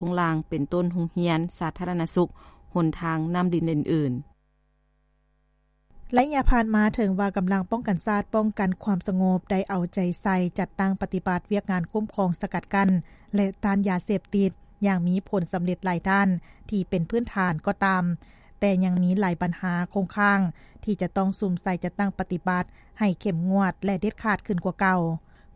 ຄົງລ່າງ ເປັນຕົ້ນ ໂຮງຮຽນ, ສາທາລະນະສຸກ, ຫົນທາງ, ນ້ຳ, ດິນ ແລະ ອື່ນໆ. ໄລຍະຜ່ານມາ ເຖິງວ່າກຳລັງປ້ອງກັນຊາດ ປ້ອງກັນຄວາມສະຫງົບ ໄດ້ເອົາໃຈໃສ່ຈັດຕັ້ງປະຕິບັດວຽກງານຄຸ້ມຄອງ, ສະກັດກັ້ນ ແລະ ຕ້ານຢາເສບຕິດ ຢ່າງມີຜົນສຳເລັດຫຼາຍດ້ານ ທີ່ເປັນພື້ນຖານກໍຕາມ, ແຕ່ຍັງມີຫຼາຍບັນຫາຄົງຄ້າງ ທີ່ຈະຕ້ອງສຸມໃສ່ຈັດຕັ້ງປະຕິບັດ ໃຫ້ເຂັ້ມງວດ ແລະ ເດັດຂາດຂຶ້ນກວ່າເກົ່າ.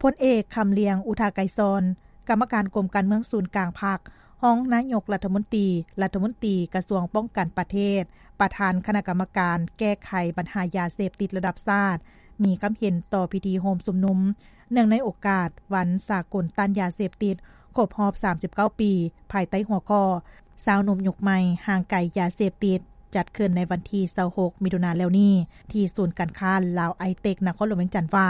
ພົນເອກ ຄຳລຽງ ອຸທາໄກສອນ ກຳມະການກົມການເມືອງສູນກາງພັກ, ຮອງນາຍົກລັດຖະມົນຕີ, ລັດຖະມົນຕີກະຊວງປ້ອງກັນປະເທດ, ປະທານຄະນະກຳມະການແກ້ໄຂບັນຫາຢາເສບຕິດລະດັບຊາດ ມີຄຳເຫັນຕໍ່ພິທີໂຮມຊຸມນຸມ ເນື່ອງໃນໂອກາດວັນສາກົນຕ້ານຢາເສບຕິດ ຄົບຮອບ ສາມສິບເກົ້າ ປີ ພາຍໃຕ້ຫົວຂໍ້ ຊາວໜຸ່ມຍຸກໃໝ່ ຫ່າງໄກຢາເສບຕິດ ຈັດຂຶ້ນໃນວັນທີ ຊາວຫົກ ມິຖຸນາແລ້ວນີ້ ທີ່ສູນການຄ້າລາວໄອເຕັກ ນະຄອນຫຼວງວຽງຈັນ ວ່າ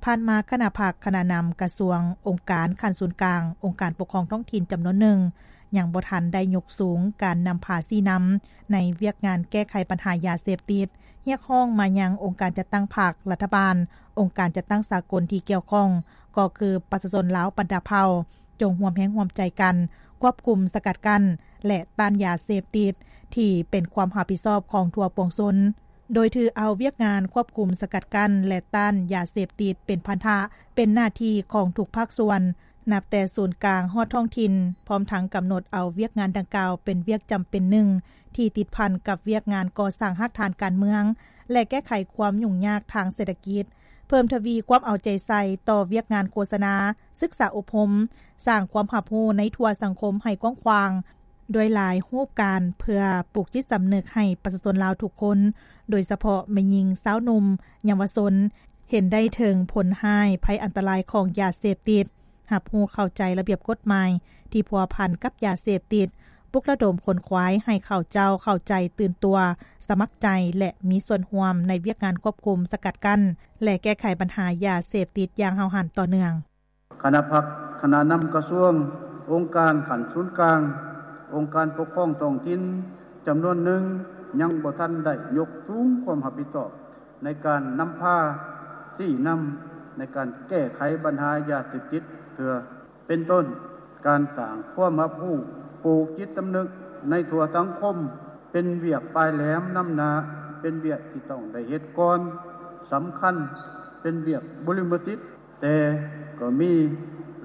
ຜ່ານມາຄະນະພັກ, ຄະນະນຳກະຊວງ, ອົງການຂັ້ນສູນກາງ, ອົງການປົກຄອງທ້ອງຖິ່ນຈຳນວນໜຶ່ງ ຍັງບໍ່ທັນໄດ້ຍົກສູງການນຳພາຊີ້ນຳໃນວຽກງານແກ້ໄຂບັນຫາຢາເສບຕິດ, ຮຽກຮ້ອງມາຍັງອົງການຈັດຕັ້ງພັກ, ລັດຖະບານ, ອົງການຈັດຕັ້ງສາກົນທີ່ກ່ຽວຂ້ອງ ກໍຄືປະຊາຊົນລາວບັນດາເຜົ່າ ຈົ່ງຮ່ວມແຮງຮ່ວມໃຈກັນ ຄວບຄຸມ, ສະກັດກັ້ນ ແລະ ຕ້ານຢາເສບຕິດ ທີ່ເປັນຄວາມຮັບຜິດຊອບຂອງທົ່ວປວງຊົນ. ໂດຍຖືເອົາວຽກງານຄວບຄຸມ, ສະກັດກັ້ນ ແລະ ຕ້ານຢາເສບຕິດເປັນພັນທະ, ເປັນໜ້າທີ່ຂອງທຸກພາກສ່ວນ, ນັບແຕ່ສູນກາງຮອດທ້ອງຖິ່ນ, ພ້ອມທັງກຳນົດເອົາວຽກງານດັ່ງກ່າວເປັນວຽກຈຳເປັນໜຶ່ງ ທີ່ຕິດພັນກັບວຽກງານກໍ່ສ້າງຮາກຖານການເມືອງ ແລະ ແກ້ໄຂຄວາມຫຍຸ້ງຍາກທາງເສດຖະກິດ, ເພີ່ມທະວີຄວາມເອົາໃຈໃສ່ຕໍ່ວຽກງານໂຄສະນາ, ສຶກສາອົບຮົມ, ສ້າງຄວາມຮັບຮູ້ໃນທົ່ວສັງຄົມໃຫ້ກວ້າງຂວາງ ດ້ວຍຫຼາຍຮູບການ ເພື່ອປູກຈິດສຳນຶກໃຫ້ປະຊາຊົນລາວທຸກຄົນ, ໂດຍສະເພາະແມ່ຍິງ, ຊາວໜຸ່ມ, ເຍົາວະຊົນ ເຫັນໄດ້ເຖິງຜົນຮ້າຍ, ໄພອັນຕະລາຍຂອງຢາເສບຕິດ, ຮັບຮູ້ເຂົ້າໃຈລະບຽບກົດໝາຍທີ່ພົວພັນກັບຢາເສບຕິດ, ປຸກລະດົມຂົນຂວາຍໃຫ້ເຂົາເຈົ້າເຂົ້າໃຈ, ຕື່ນຕົວ, ສະໝັກໃຈ ແລະ ມີສ່ວນຮ່ວມໃນວຽກງານຄວບຄຸມ, ສະກັດກັ້ນ ແລະ ແກ້ໄຂບັນຫາຢາເສບຕິດຢ່າງຫ້າວຫັນຕໍ່ເນື່ອງ. ຄະນະພັກ, ຄະນະນຳກະຊວງ, ອົງການຂັ້ນສູນກາງ, ອົງການປົກຄອງທ້ອງຖິ່ນຈຳນວນໜຶ່ງ ຍັງບໍ່ທັນໄດ້ຍົກສູງຄວາມຮັບຜິດຊອບໃນການນຳພາຊີ້ນຳໃນການແກ້ໄຂບັນຫາຢາເສບຕິດເທື່ອ. ເປັນຕົ້ນ, ການສ້າງຄວາມຮັບຮູ້, ປູກຈິດສຳນຶກໃນທົ່ວສັງຄົມ ເປັນວຽກປາຍແຫຼມນຳໜ້າ, ເປັນວຽກທີ່ຕ້ອງໄດ້ເຮັດກ່ອນ, ສຳຄັນ, ເປັນວຽກບຸລິມະສິດ, ແຕ່ກໍມີ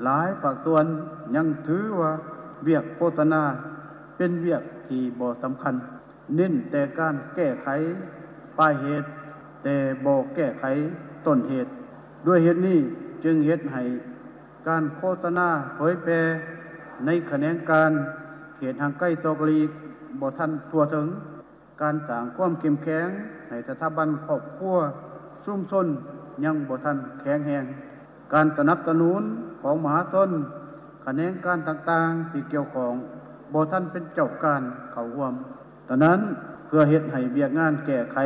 ຫຼາຍພາກສ່ວນຍັງຖືວ່າວຽກໂຄສະນາເປັນວຽກທີ່ບໍ່ສຳຄັນ, ເນັ້ນແຕ່ການແກ້ໄຂປາຍເຫດ ແຕ່ບໍ່ແກ້ໄຂຕົ້ນເຫດ. ດ້ວຍເຫດນີ້ຈຶ່ງເຮັດໃຫ້ການໂຄສະນາເຜີຍແຜ່ໃນຂະແໜງການເຂດຫ່າງໄກສອກຫຼີກບໍ່ທັນທົ່ວເຖິງ. ການສ້າງຄວາມເຂັ້ມແຂງໃຫ້ສະຖາບັນຄອບຄົວ, ຊຸມຊົນຍັງບໍ່ທັນແຂງແຮງ. ການສະໜັບສະໜູນຂອງມະຫາຊົນ, ຂະແໜງການຕ່າງໆທີ່ກ່ຽວຂ້ອງບໍ່ທັນເປັນເຈົ້າການເຂົ້າຮ່ວມ. ສະນັ້ນ, ເພື່ອເຮັດໃຫ້ວຽກງານແກ້ໄຂ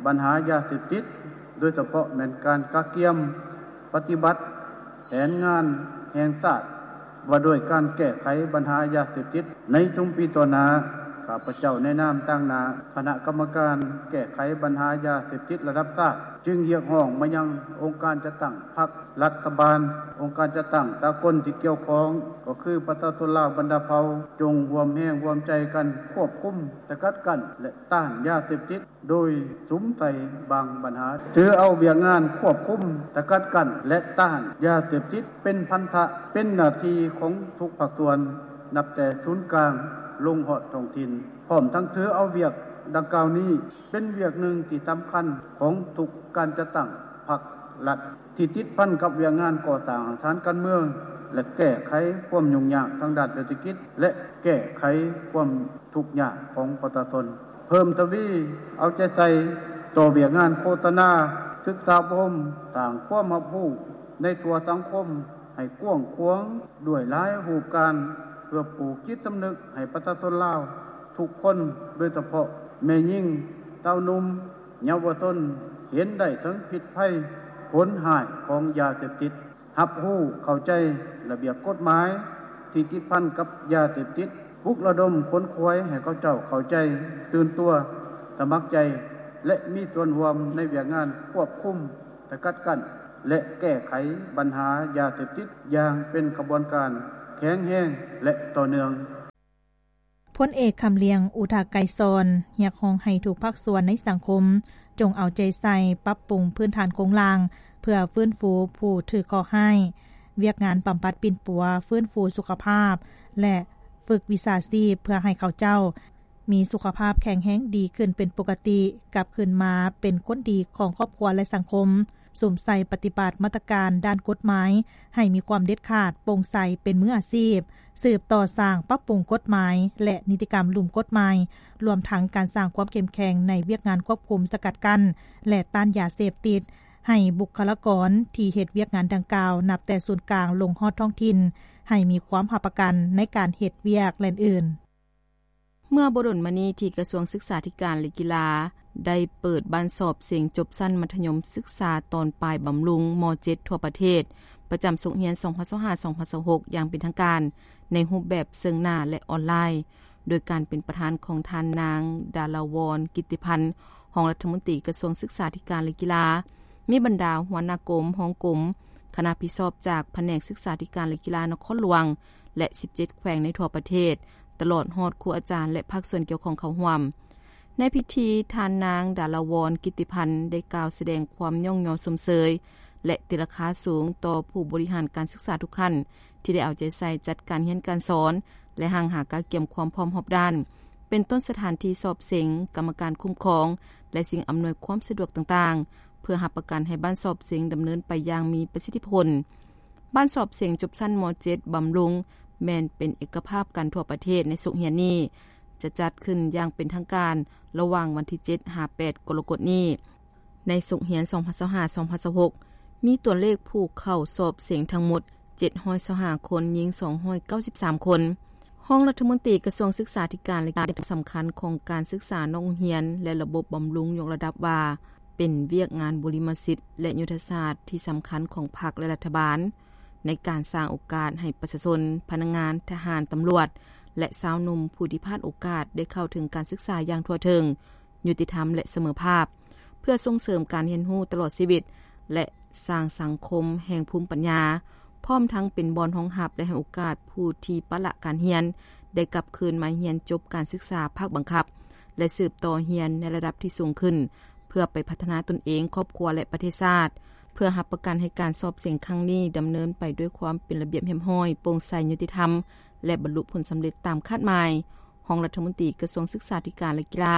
ບັນຫາຢາເສບຕິດ, ໂດຍສະເພາະແມ່ນການກະກຽມປະຕິບັດແຜນງານແຫ່ງຊາດ ວ່າດ້ວຍການແກ້ໄຂບັນຫາຢາເສບຕິດໃນຊຸມປີຕໍ່ໜ້າ, ຂ້າພະເຈົ້າໃນນາມຕາງໜ້າຄະນະກຳມະການແກ້ໄຂບັນຫາຢາເສບຕິດລະດັບຊາດ ຈຶ່ງຮຽກຮ້ອງມາຍັງອົງການຈັດຕັ້ງພັກ, ລັດຖະບານ, ອົງການຈັດຕັ້ງສາກົນທີ່ກ່ຽວຂ້ອງ ກໍຄືປະຊາຊົນລາວບັນດາເຜົ່າ ຈົ່ງຮ່ວມແຮງຮ່ວມໃຈກັນຄວບຄຸມ, ສະກັດກັ້ນ ແລະ ຕ້ານຢາເສບຕິດ ໂດຍສຸມໃສ່ບາງບັນຫາ. ຖືເອົາວຽກງານຄວບຄຸມ, ສະກັດກັ້ນ ແລະ ຕ້ານຢາເສບຕິດເປັນພັນທະ, ເປັນໜ້າທີ່ຂອງທຸກພາກສ່ວນ, ນັບແຕ່ສູນກາງລົງຮອດທ້ອງຖິ່ນ, ພ້ອມທັງຖືເອົາວຽກດັ່ງກ່າວນີ້ເປັນວຽກໜຶ່ງທີ່ສຳຄັນຂອງທຸກການຈັດຕັ້ງພັກລັດ ທີ່ຕິດພັນກັບວຽກງານກໍ່ສ້າງຮາກຖານການເມືອງ ແລະ ແກ້ໄຂຄວາມຫຍຸ້ງຍາກທາງດ້ານເສດຖະກິດ ແລະ ແກ້ໄຂຄວາມທຸກຍາກຂອງປະຊາຊົນ. ເພີ່ມທະວີເອົາໃຈໃສ່ຕໍ່ວຽກງານໂຄສະນາ, ສຶກສາອົບຮົມ, ສ້າງຄວາມຮັບຮູ້ໃນທົ່ວສັງຄົມໃຫ້ກວ້າງຂວາງດ້ວຍຫຼາຍຮູບການ ເພື່ອປູກຈິດສຳນຶກໃຫ້ປະຊາຊົນລາວທຸກຄົນ, ໂດຍສະເພາະແມ່ຍິງ, ຊາວໜຸ່ມ, ເຍົາວະຊົນ ເຫັນໄດ້ເຖິງພິດໄພ, ຜົນຮ້າຍຂອງຢາເສບຕິດ. ຮັບຮູ້ເຂົ້າໃຈລະບຽບກົດໝາຍທີ່ຕິດພັນກັບຢາເສບຕິດ, ປຸກລະດົມຂົນຂວາຍໃຫ້ເຂົາເຈົ້າເຂົ້າໃຈ, ຕື່ນຕົວ, ສະໝັກໃຈ ແລະ ມີສ່ວນຮ່ວມໃນວຽກງານຄວບຄຸມ, ສະກັດກັ້ນ ແລະ ແກ້ໄຂບັນຫາຢາເສບຕິດຢ່າງເປັນຂະບວນການແຂງແຮງ ແລະ ຕໍ່ເນື່ອງ. ພົນເອກ ຄຳລຽງ ອຸທາໄກສອນ ຮຽກຮ້ອງໃຫ້ທຸກພາກສ່ວນໃນສັງຄົມ ຈົ່ງເອົາໃຈໃສ່ປັບປຸງພື້ນຖານໂຄງລ່າງ ເພື່ອຟື້ນຟູຜູ້ຖືກເຄາະຮ້າຍ, ວຽກງານບຳບັດປິ່ນປົວ, ຟື້ນຟູສຸຂະພາບ ແລະ ຝຶກວິຊາຊີບ ເພື່ອໃຫ້ເຂົາເຈົ້າມີສຸຂະພາບແຂງແຮງດີຂຶ້ນເປັນປົກກະຕິ, ກັບຄືນມາເປັນຄົນດີຂອງຄອບຄົວ ແລະ ສັງຄົມ, ສຸມໃສ່ປະຕິບັດມາດຕະການດ້ານກົດໝາຍໃຫ້ມີຄວາມເດັດຂາດ, ໂປ່ງໃສ, ເປັນມືອາຊີບ, ສືບຕໍ່ສ້າງປັບປຸງກົດໝາຍ ແລະ ນິຕິກຳລຸ່ມກົດໝາຍ, ລວມທັງການສ້າງຄວາມເຂັ້ມແຂງໃນວຽກງານຄວບຄຸມ, ສະກັດກັ້ນ ແລະ ຕ້ານຢາເສບຕິດ ໃຫ້ບຸກຄະລາກອນທີ່ເຮັດວຽກງານດັ່ງກ່າວ ນັບແຕ່ສູນກາງລົງຮອດທ້ອງຖິ່ນ ໃຫ້ມີຄວາມຮັບປະກັນໃນການເຮັດວຽກ ແລະ ອື່ນໆ. ເມື່ອບໍ່ດົນມານີ້ ທີ່ກະຊວງສຶກສາທິການ ແລະ ກິລາ ໄດ້ເປີດບ້ານສອບເສັງຈົບຊັ້ນມັດທະຍົມສຶກສາຕອນປາຍບຳລຸງ ມ.ເຈັດ ທົ່ວປະເທດ ປະຈຳສົກຮຽນ ສອງພັນຊາວຫ້າ ສອງພັນຊາວຫົກ ຢ່າງເປັນທາງການ ໃນຮູບແບບເຊິ່ງໜ້າ ແລະ ອອນລາຍ, ໂດຍການເປັນປະທານຂອງທ່ານນາງ ດາລາວອນ ກິດຕິພັນ ຮອງລັດຖະມົນຕີກະຊວງສຶກສາທິການ ແລະ ກິລາ, ມີບັນດາຫົວໜ້າກົມ, ຮອງກົມ, ຄະນະຜິດຊອບຈາກພະແນກສຶກສາທິການ ແລະ ກິລານະຄອນຫຼວງ ແລະ ສິບເຈັດແຂວງໃນທົ່ວປະເທດ, ຕະຫຼອດຮອດຄູອາຈານ ແລະ ພາກສ່ວນກ່ຽວຂ້ອງເຂົ້າຮ່ວມ. ໃນພິທີ, ທ່ານນາງ ດາລາວອນ ກິດຕິພັນ ໄດ້ກ່າວສະແດງຄວາມຍ້ອງຍໍຊົມເຊີຍ ແລະ ຕີລາຄາສູງຕໍ່ຜູ້ບໍລິຫານການສຶກສາທຸກຂັ້ນ ທີ່ໄດ້ເອົາໃຈໃສ່ຈັດການຮຽນການສອນ ແລະ ຮັ່ງຫາກະກຽມຄວາມພ້ອມຮອບດ້ານ ເປັນຕົ້ນສະຖານທີ່ສອບເສັງ, ກຳມະການຄຸ້ມຄອງ ແລະ ສິ່ງອຳນວຍຄວາມສະດວກຕ່າງໆ ເພື່ອຮັບປະກັນໃຫ້ບ້ານສອບເສັງດຳເນີນໄປຢ່າງມີປະສິດທິຜົນ. ບ້ານສອບເສັງຈົບຊັ້ນ ມ.ເຈັດ ບຳລຸງ ແມ່ນເປັນເອກະພາບກັນທົ່ວປະເທດໃນສົກຮຽນນີ້ ຈະຈັດຂຶ້ນຢ່າງເປັນທາງການລະຫວ່າງວັນທີ ເຈັດ ຫາ ແປດ ກໍລະກົດນີ້. ໃນສົກຮຽນ ສອງພັນຊາວຫ້າ ສອງພັນຊາວຫົກ ມີຕົວເລກຜູ້ເຂົ້າສອບເສັງທັງໝົດ ເຈັດຮ້ອຍຊາວຫ້າຄົນ, ຍິງ ສອງຮ້ອຍເກົ້າສິບສາມຄົນ. ຮອງລັດຖະມົນຕີກະຊວງສຶກສາທິການ ແລະ ກິລາ ເຫັນຄວາມສຳຄັນຂອງການສຶກສານອກໂຮງຮຽນ ແລະ ລະບົບບຳລຸງ ຍົກລະດັບວ່າ ເປັນວຽກງານບູລິມະສິດ ແລະ ຍຸດທະສາດທີ່ສຳຄັນຂອງພັກ ແລະ ລັດຖະບານ ໃນການສ້າງໂອກາດໃຫ້ປະຊາຊົນ, ພະນັກງານ, ທະຫານ, ຕຳຫຼວດ ແລະ ຊາວໜຸ່ມຜູ້ທີ່ພາດໂອກາດໄດ້ເຂົ້າເຖິງການສຶກສາຢ່າງທົ່ວເຖິງ, ຍຸຕິທຳ ແລະ ສະເໝີພາບ, ເພື່ອສົ່ງເສີມການຮຽນຮູ້ຕະຫຼອດຊີວິດ ແລະ ສ້າງສັງຄົມແຫ່ງພູມປັນຍາ, ພ້ອມທັງເປັນບ່ອນຮອງຮັບ ແລະ ໃຫ້ໂອກາດຜູ້ທີ່ປະລະການຮຽນ ໄດ້ກັບຄືນມາຮຽນຈົບການສຶກສາພາກບັງຄັບ ແລະ ສືບຕໍ່ຮຽນໃນລະດັບທີ່ສູງຂຶ້ນ ເພື່ອໄປພັດທະນາຕົນເອງ, ຄອບຄົວ ແລະ ປະເທດຊາດ, ເພື່ອຮັບປະກັນໃຫ້ການສອບເສັງຄັ້ງນີ້ດຳເນີນໄປດ້ວຍຄວາມເປັນລະບຽບຮຽບຮ້ອຍ, ໂປ່ງໃສ, ຍຸຕິທຳ ແລະ ບັນລຸຜົນສຳເລັດຕາມຄາດໝາຍ. ຮອງລັດຖະມົນຕີກະຊວງສຶກສາທິການ ແລະ ກິລາ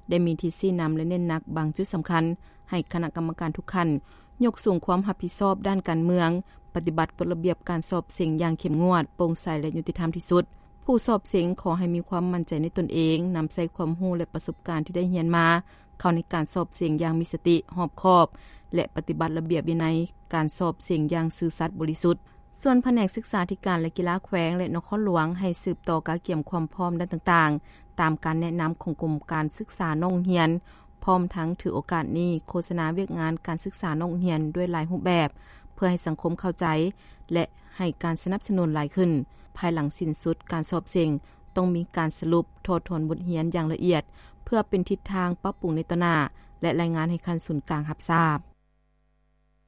ໄດ້ມີທິດຊີ້ນຳ ແລະ ເນັ້ນໜັກບາງຈຸດສຳຄັນ ໃຫ້ຄະນະກຳມະການທຸກຂັ້ນ ຍົກສູງຄວາມຮັບຜິດຊອບດ້ານການເມືອງ, ປະຕິບັດກົດລະບຽບການສອບເສັງຢ່າງເຂັ້ມງວດ, ໂປ່ງໃສ ແລະ ຍຸຕິທຳທີ່ສຸດ. ຜູ້ສອບເສັງຂໍໃຫ້ມີຄວາມໝັ້ນໃຈໃນຕົນເອງ, ນຳໃຊ້ຄວາມຮູ້ ແລະ ປະສົບການທີ່ໄດ້ຮຽນມາ ເຂົ້າໃນການສອບເສັງຢ່າງມີສະຕິ, ຮອບຄອບ ແລະ ປະຕິບັດລະບຽບວິໄນການສອບເສັງຢ່າງຊື່ສັດບໍລິສຸດ. ສ່ວນພະແນກສຶກສາທິການ ແລະ ກິລາແຂວງ ແລະ ນະຄອນຫຼວງ ໃຫ້ສືບຕໍ່ກະກຽມຄວາມພ້ອມດ້ານຕ່າງໆ ຕາມການແນະນຳຂອງກົມການສຶກສານອກໂຮງຮຽນ, ພ້ອມທັງຖືໂອກາດນີ້ໂຄສະນາວຽກງານການສຶກສານອກໂຮງຮຽນດ້ວຍຫຼາຍຮູບແບບ ເພື່ອໃຫ້ສັງຄົມເຂົ້າໃຈ ແລະ ໃຫ້ການສະໜັບສະໜູນຫຼາຍຂຶ້ນ. ພາຍຫຼັງສິ້ນສຸດການສອບເສັງ ຕ້ອງມີການສະຫຼຸບ, ຖອດຖອນບົດຮຽນຢ່າງລະອຽດ ເພື່ອເປັນທິດທາງປັບປຸງໃນຕໍ່ໜ້າ ແລະ ລາຍງານໃຫ້ຂັ້ນສູນກາງຮັບຊາບ.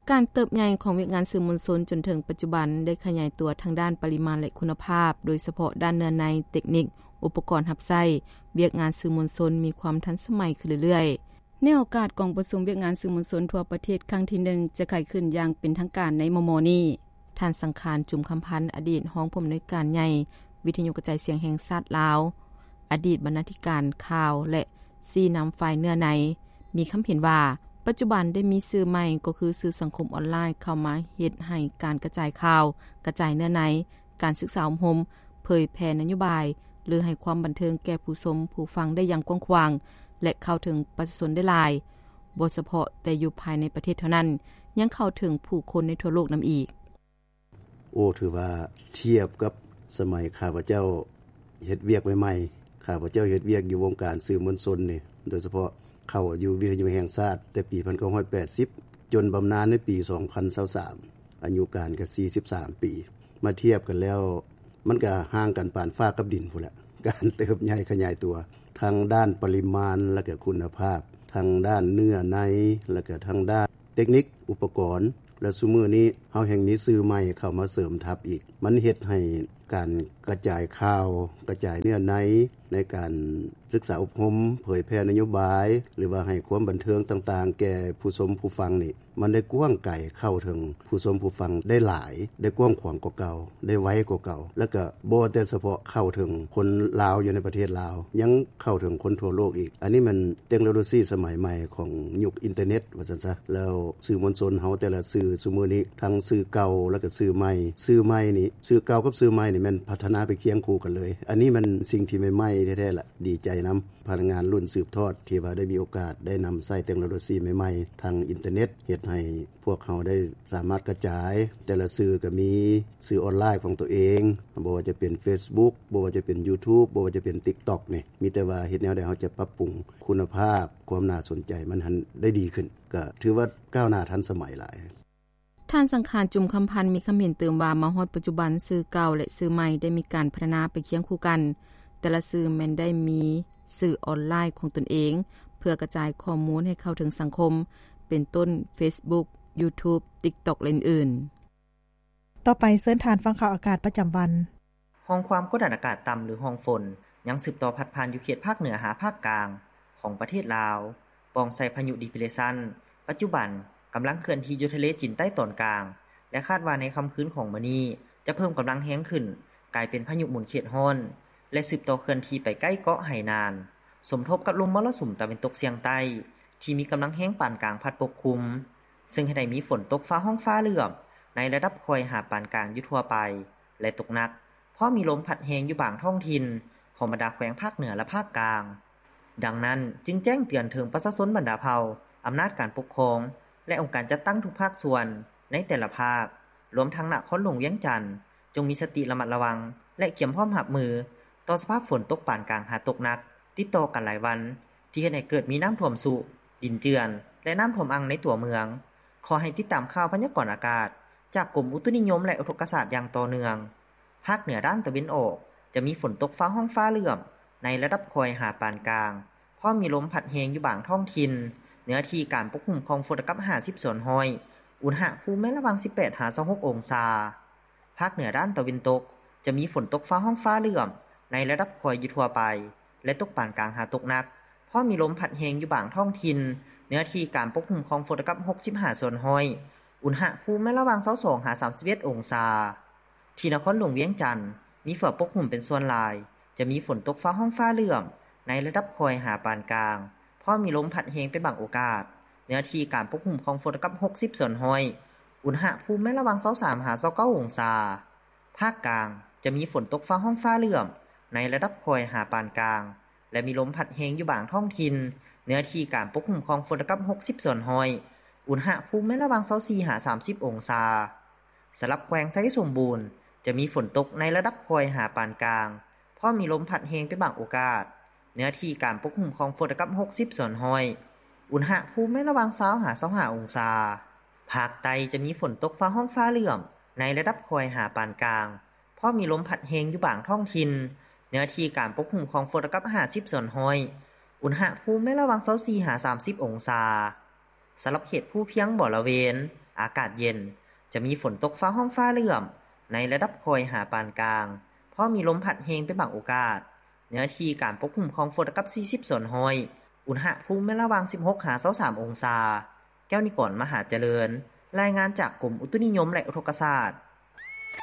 ການເຕີບໃຫຍ່ຂອງວຽກງານສື່ມວນຊົນຈົນເຖິງປັດຈຸບັນ ໄດ້ຂະຫຍາຍຕົວທັງດ້ານປະລິມານ ແລະ ຄຸນນະພາບ, ໂດຍສະເພາະດ້ານເນື້ອໃນ, ເຕັກນິກ, ອຸປະກອນຮັບໃຊ້, ວຽກງານສື່ມວນຊົນມີຄວາມທັນສະໄໝຂຶ້ນເລື້ອຍໆ. ໃນໂອກາດກອງປະຊຸມວຽກງານສື່ມວນຊົນທົ່ວປະເທດຄັ້ງທີໜຶ່ງ ຈະໄຂຂຶ້ນຢ່າງເປັນທາງການໃນມໍ່ໆນີ້, ທ່ານ ສັງຂານ ຈຸມຄຳພັນ ອະດີດຮອງຜູ້ອຳນວຍການໃຫຍ່ວິທະຍຸກະຈາຍສຽງແຫ່ງຊາດລາວ, ອະດີດບັນນາທິການຂ່າວ ແລະ ຊີ້ນຳຝ່າຍເນື້ອໃນ ມີຄຳເຫັນວ່າ ປັດຈຸບັນໄດ້ມີສື່ໃໝ່ ກໍຄືສື່ສັງຄົມອອນລາຍເຂົ້າມາເຮັດໃຫ້ການກະຈາຍຂ່າວ, ກະຈາຍເນື້ອໃນ, ການສຶກສາອົບຮົມ, ເຜີຍແຜ່ນະໂຍບາຍ ຫຼື ໃຫ້ຄວາມບັນເທີງແກ່ຜູ້ຊົມ, ຜູ້ຟັງໄດ້ຢ່າງກວ້າງຂວາງ ແລະ ເຂົ້າເຖິງປະຊາຊົນໄດ້ຫຼາຍ, ບໍ່ສະເພາະແຕ່ຢູ່ພາຍໃນປະເທດເທົ່ານັ້ນ, ຍັງເຂົ້າເຖິງຜູ້ຄົນໃນທົ່ວໂລກນຳອີກ. ໂອ້ ຖືວ່າທຽບກັບສະໄໝຂ້າພະເຈົ້າເຮັດວຽກໃໝ່ໆ, ຂ້າພະເຈົ້າເຮັດວຽກຢູ່ວົງການສື່ມວນຊົນນີ້ ໂດຍສະເພາະເຂົ້າຢູ່ວິທະຍຸແຫ່ງຊາດແຕ່ປີພັນເກົ້າຮ້ອຍແປດສິບ ຈົນບຳນານໃນປີສອງພັນຊາວສາມ ອາຍຸການກໍສີ່ສິບສາມປີ. ມາທຽບກັນແລ້ວ ມັນກໍຫ່າງກັນປານຟ້າກັບດິນພຸ້ນແຫຼະ, ການເຕີບໃຫຍ່ຂະຫຍາຍຕົວ ທັງດ້ານປະລິມານ ແລະກໍຄຸນນະພາບ, ທັງດ້ານເນື້ອໃນ ແລະກໍທັງດ້ານເຕັກນິກ ອຸປະກອນ ແລະ ຊຸມື້ນີ້ເຮົາແຮ່ງມີສື່ໃໝ່ເຂົ້າມາເສີມທັບອີກ, ມັນເຮັດໃຫ້ ການກະຈາຍຂ່າວ ກະຈາຍເນື້ອໃນ ໃນການສຶກສາອົບຮົມ ເຜີຍແຜ່ນະໂຍບາຍ ຫຼືວ່າໃຫ້ຄວາມບັນເທີງຕ່າງໆ ແກ່ຜູ້ຊົມຜູ້ຟັງນີ້ ມັນໄດ້ກວ້າງໄກ ເຂົ້າເຖິງຜູ້ຊົມຜູ້ຟັງໄດ້ຫຼາຍ ໄດ້ກວ້າງຂວາງກວ່າເກົ່າ ໄດ້ໄວກວ່າເກົ່າ ແລ້ວກໍບໍ່ແຕ່ສະເພາະເຂົ້າເຖິງຄົນລາວຢູ່ໃນປະເທດລາວ ຍັງເຂົ້າເຖິງຄົນທົ່ວໂລກອີກ. ອັນນີ້ມັນເຕັກໂນໂລຊີສະໄໝໃໝ່ຂອງຍຸກອິນເຕີເນັດວ່າຊັ້ນຊະ. ແລ້ວສື່ມວນຊົນເຮົາແຕ່ລະສື່ຊຸມື້ນີ້ ທັງສື່ເກົ່າ ແລ້ວກໍສື່ໃໝ່ ສື່ໃໝ່ນີ້ ສື່ເກົ່າກັບສື່ໃໝ່ນີ້ແມ່ນພັດທະນາໄປຄຽງຄູ່ກັນເລີຍ. ອັນນີ້ມັນສິ່ງທີ່ໃໝ່ໆແທ້ໆລະ ດີໃຈນຳພະນັກງານລຸ້ນສືບທອດ ທີ່ວ່າໄດ້ມີໂອກາດໄດ້ນຳໃຊ້ເຕັກໂນໂລຊີໃໝ່ໆ ທາງອິນເຕີເນັດ ເຮັດໃຫ້ພວກເຮົາໄດ້ສາມາດກະຈາຍ ແຕ່ລະສື່ກໍມີສື່ອອນລາຍຂອງຕົວເອງ ບໍ່ວ່າຈະເປັນເຟສບຸກ ບໍ່ວ່າຈະເປັນຢູທູບ ບໍ່ວ່າຈະເປັນຕິກຕັອກນີ້ ມີແຕ່ວ່າເຮັດແນວໃດເຮົາຈະປັບປຸງຄຸນນະພາບ ຄວາມໜ້າສົນໃຈມັນຫັ້ນໄດ້ດີຂຶ້ນ ກໍຖືວ່າກ້າວໜ້າທັນສະໄໝຫຼາຍ. ທ່ານສັງຂານ ຈຸມຄຳພັນ ມີຄຳເຫັນຕື່ມວ່າ ມາຮອດປັດຈຸບັນ ສື່ເກົ່າ ແລະ ສື່ໃໝ່ໄດ້ມີການພັດທະນາໄປຄຽງຄູ່ກັນ, ແຕ່ລະສື່ແມ່ນໄດ້ມີສື່ອອນລາຍຂອງຕົນເອງ ເພື່ອກະຈາຍຂໍ້ມູນໃຫ້ເຂົ້າເຖິງສັງຄົມ ເປັນຕົ້ນເຟສບຸກ ຢູທູບ ຕິກຕັອກ ແລະ ອື່ນໆ. ຕໍ່ໄປເຊີນທ່ານຟັງຂ່າວອາກາດປະຈຳວັນ. ຮ່ອງຄວາມກົດດັນອາກາດຕ່ຳ ຫຼື ຮ່ອງຝົນ ຍັງສືບຕໍ່ພັດຜ່ານຢູ່ເຂດພາກເໜືອຫາພາກກາງຂອງປະເທດລາວ ປ່ອງໃສ່ພາຍຸດີເປຣເຊັນ ປັດຈຸບັນກຳລັງເຄື່ອນທີ່ຢູ່ທະເລຈີນໃຕ້ຕອນກາງ ແລະ ຄາດວ່າໃນຄ່ຳຄືນຂອງມື້ນີ້ ຈະເພີ່ມກຳລັງແຮງຂຶ້ນ ກາຍເປັນພາຍຸໝູນເຂດຮ້ອນ ແລະ ສືບຕໍ່ເຄື່ອນທີ່ໄປໃກ້ເກາະໄຫໜານ ສົມທົບກັບລົມມໍລະສຸມຕາເວັນຕົກສຽງໃຕ້ ທີ່ມີກຳລັງແຮງປານກາງພັດປົກຄຸມ ເຊິ່ງເຮັດໃຫ້ມີຝົນຕົກຟ້າຮ້ອງຟ້າເຫຼື້ອມ ໃນລະດັບຄ່ອຍຫາປານກາງຢູ່ທົ່ວໄປ ແລະ ຕົກໜັກ ພ້ອມມີລົມພັດແຮງຢູ່ບາງທ້ອງຖິ່ນຂອງບັນດາແຂວງພາກເໜືອ ແລະ ພາກກາງ. ດັ່ງນັ້ນ, ຈຶ່ງແຈ້ງເຕືອນເຖິງປະຊາຊົນບັນດາເຜົ່າ, ອຳນາດການປົກຄອງ ແລະ ອົງການຈັດຕັ້ງທຸກພາກສ່ວນໃນແຕ່ລະພາກ, ລວມທັງນະຄອນຫຼວງວຽງຈັນ, ຈົ່ງມີສະຕິລະມັດລະວັງ ແລະ ກຽມພ້ອມຮັບມືຕໍ່ສະພາບຝົນຕົກປານກາງຫາຕົກໜັກ ຕິດຕໍ່ກັນຫຼາຍວັນ ທີ່ເຮັດໃຫ້ເກີດມີນ້ຳຖ້ວມຊຸ, ດິນເຈື່ອນ ແລະ ນ້ຳຖ້ວມອັ່ງໃນຕົວເມືອງ. ຂໍໃຫ້ຕິດຕາມຂ່າວພະຍາກອນອາກາດຈາກກົມອຸຕຸນິຍົມ ແລະ ອຸທົກກະສາດຢ່າງຕໍ່ເນື່ອງ. ພາກເໜືອດ້ານຕາເວັນອອກ ຈະມີຝົນຕົກຟ້າຮ້ອງຟ້າເຫຼື້ອມ ໃນລະດັບຄ່ອຍຫາປານກາງ, ພ້ອມມີລົມພັດແຮງຢູ່ບາງທ້ອງຖິ່ນ, ເນື້ອທີ່ການປົກຄຸມຂອງຝົນລະດັບຫ້າສິບສ່ວນຮ້ອຍ, ອຸນຫະພູມແມ່ນລະຫວ່າງສິບແປດຫາຊາວຫົກອົງສາ. ພາກເໜືອດ້ານຕາເວັນຕົກ ຈະມີຝົນຕົກຟ້າຮ້ອງຟ້າເຫຼື້ອມ ໃນລະດັບຄ່ອຍຢູ່ທົ່ວໄປ ແລະ ຕົກປານກາງຫາຕົກໜັກ, ພ້ອມມີລົມພັດແຮງຢູ່ບາງທ້ອງຖິ່ນ, ເນື້ອທີ່ການປົກຄຸມຂອງຝົນລະດັບຫົກສິບຫ້າສ່ວນຮ້ອຍ, ອຸນຫະພູມແມ່ນລະຫວ່າງຊາວສອງຫາສາມສິບເອັດອົງສາ. ທີ່ນະຄອນຫຼວງວຽງຈັນ ມີເຝືອປົກຫຸ້ມເປັນສ່ວນຫຼາຍ, ຈະມີຝົນຕົກຟ້າຮ້ອງຟ້າເຫຼື້ອມ ໃນລະດັບຄ່ອຍຫາປານກາງ, ພ້ອມມີລົມພັດແຮງເປັນບາງໂອກາດ, ເນື້ອທີ່ການປົກຄຸມຂອງຝົນລະດັບຫົກສິບສ່ວນຮ້ອຍ, ອຸນຫະພູມແມ່ນລະຫວ່າງຊາວສາມຫາຊາວເກົ້າອົງສາ. ພາກກາງ ຈະມີຝົນຕົກຟ້າຮ້ອງຟ້າເຫຼື້ອມ ໃນລະດັບຄ່ອຍຫາປານກາງ ແລະ ມີລົມພັດແຮງຢູ່ບາງທ້ອງຖິ່ນ, ເນື້ອທີ່ການປົກຄຸມຂອງຝົນລະດັບຫົກສິບສ່ວນຮ້ອຍ, ອຸນຫະພູມແມ່ນລະຫວ່າງຊາວສີ່ຫາສາມສິບອົງສາ. ສຳລັບແຂວງໄຊສົມບູນ ຈະມີຝົນຕົກໃນລະດັບຄ່ອຍຫາປານກາງ, ພ້ອມມີລົມພັດແຮງເປັນບາງໂອກາດ, ເນື້ອທີ່ການປົກຄຸມຂອງຝົນລະດັບຫົກສິບສ່ວນຮ້ອຍ, ອຸນຫະພູມແມ່ນລະຫວ່າງຊາວຫາຊາວຫ້າອົງສາ. ພາກໃຕ້ຈະມີຝົນຕົກຟ້າຮ້ອງຟ້າເຫຼື້ອມ ໃນລະດັບຄ່ອຍຫາປານກາງ, ພ້ອມມີລົມພັດແຮງຢູ່ບາງທ້ອງຖິ່ນ, ເນື້ອທີ່ການປົກຄຸມຂອງຝົນລະດັບຫ້າສິບສ່ວນຮ້ອຍ, ອຸນຫະພູມແມ່ນລະຫວ່າງຊາວສີ່ຫາສາມສິບອົງສາ. ສຳລັບເຂດພູພຽງບໍລະເວນ ອາກາດເຢັນ, ຈະມີຝົນຕົກຟ້າຮ້ອງຟ້າເຫຼື້ອມ ໃນລະດັບຄ່ອຍຫາປານກາງ, ພ້ອມມີລົມພັດແຮງເປັນບາງໂອກາດ, ເນື້ອທີ່ການປົກຄຸມຂອງຝົນລະດັບສີ່ສິບສ່ວນຮ້ອຍ, ອຸນຫະພູມແມ່ນລະຫວ່າງສິບຫົກຫາຊາວສາມອົງສາ. ແກ້ວນິກອນ ມະຫາຈະເລີນ, ລາຍງານຈາກກົມອຸຕຸນິຍົມ ແລະ ອຸທົກກະສາດ.